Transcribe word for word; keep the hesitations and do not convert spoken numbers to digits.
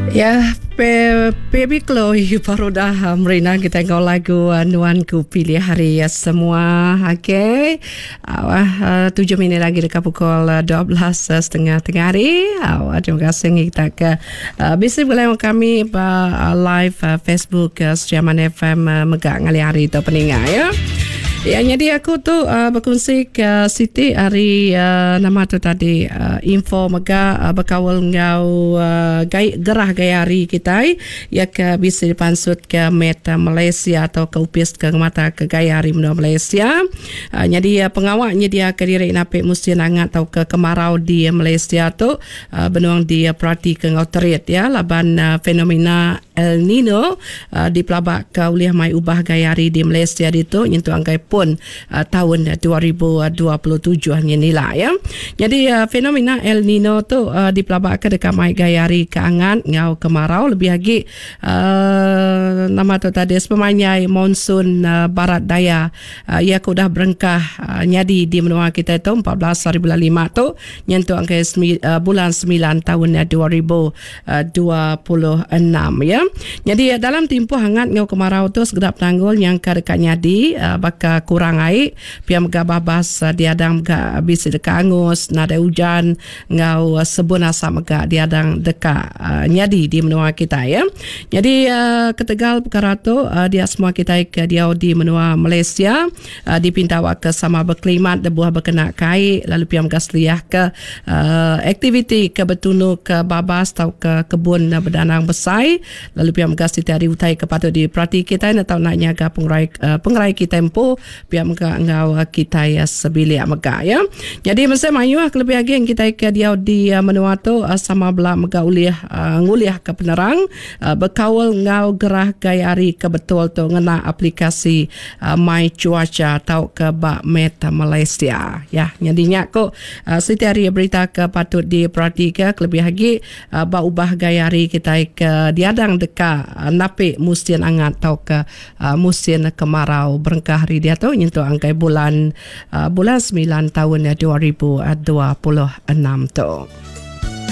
Ya, Baby Chloe baru dah merina kita enggau lagu Nuan Ku Pilih Hari ya semua. Okey. Uh, tujuh minit lagi dekat pukul dua belas setengah tengah hari. Uh, terima kasih kita ke uh, bisa boleh kami uh, live uh, Facebook uh, Sri Aman F M uh, megak ngali hari tu peninga ya. Ya, jadi aku tu uh, berkongsi ke Siti hari uh, nama tu tadi uh, info mega uh, berkawal ngau uh, gaya, gerah gaya hari kita ya ke bisa dipansut ke Meta Malaysia atau ke upis ke mata ke gaya hari menua Malaysia. Uh, jadi uh, pengawaknya dia ke diri napik musim hangat atau ke kemarau di Malaysia tu uh, benuang dia perhati ke ngau terit ya laban uh, fenomena El Nino uh, dipelabak ke uliah mai ubah gaya hari di Malaysia itu nyentuh angkai pun uh, tahun dua ribu dua puluh tujuh ni lah ya. Jadi uh, fenomena El Nino tu uh, dipelabak ke dekat mai gaya hari keangan ngau kemarau lebih lagi uh, nama tu tadi sepemanjai monsun uh, barat daya uh, ia ke udah berengkah uh, nyadi di menua kita itu empat belas hari bulan lima tu nyentuh angkai semi, uh, bulan sembilan tahun dua ribu dua puluh enam ya. Jadi dalam tempoh hangat ngau kemarau tu segedap tanggul yang ke dekat nyadi uh, bakal kurang air pia mega babas uh, diadang mega bisi dekat angus nadai hujan ngau uh, sebun asap mega diadang dekat uh, nyadi di menua kita ya. Jadi uh, ketegal perkara tu uh, dia semua kita ke dia di menua Malaysia uh, dipinta awak ke sama berklimat debuah berkena kai lalu pia mega seliah ke uh, aktiviti ke betunu ke babas atau ke kebun uh, berdanang besar lalu pia mega siti hari utai ke patut diperhati kita atau nak nyaga pengerai uh, pengerai kita empu pia mega ngau kita ya sebilik mega ya. Jadi mesti mayu lebih lagi yang kita ke dia di uh, menua tu uh, sama bela mega uliah uh, nguliah ke penerang uh, berkawal ngau gerah gaya hari ke betul tu ngena aplikasi uh, My Cuaca atau ke Bak Meta Malaysia ya. Jadinya ko uh, siti hari berita ke patut diperhatikan lebih lagi uh, bak ubah gaya hari kita ke diadang deka uh, napik musim hangat atau ke uh, musim kemarau berengkah hari dia tu nyentuh angkai bulan uh, bulan sembilan tahun dua ribu dua puluh enam tu.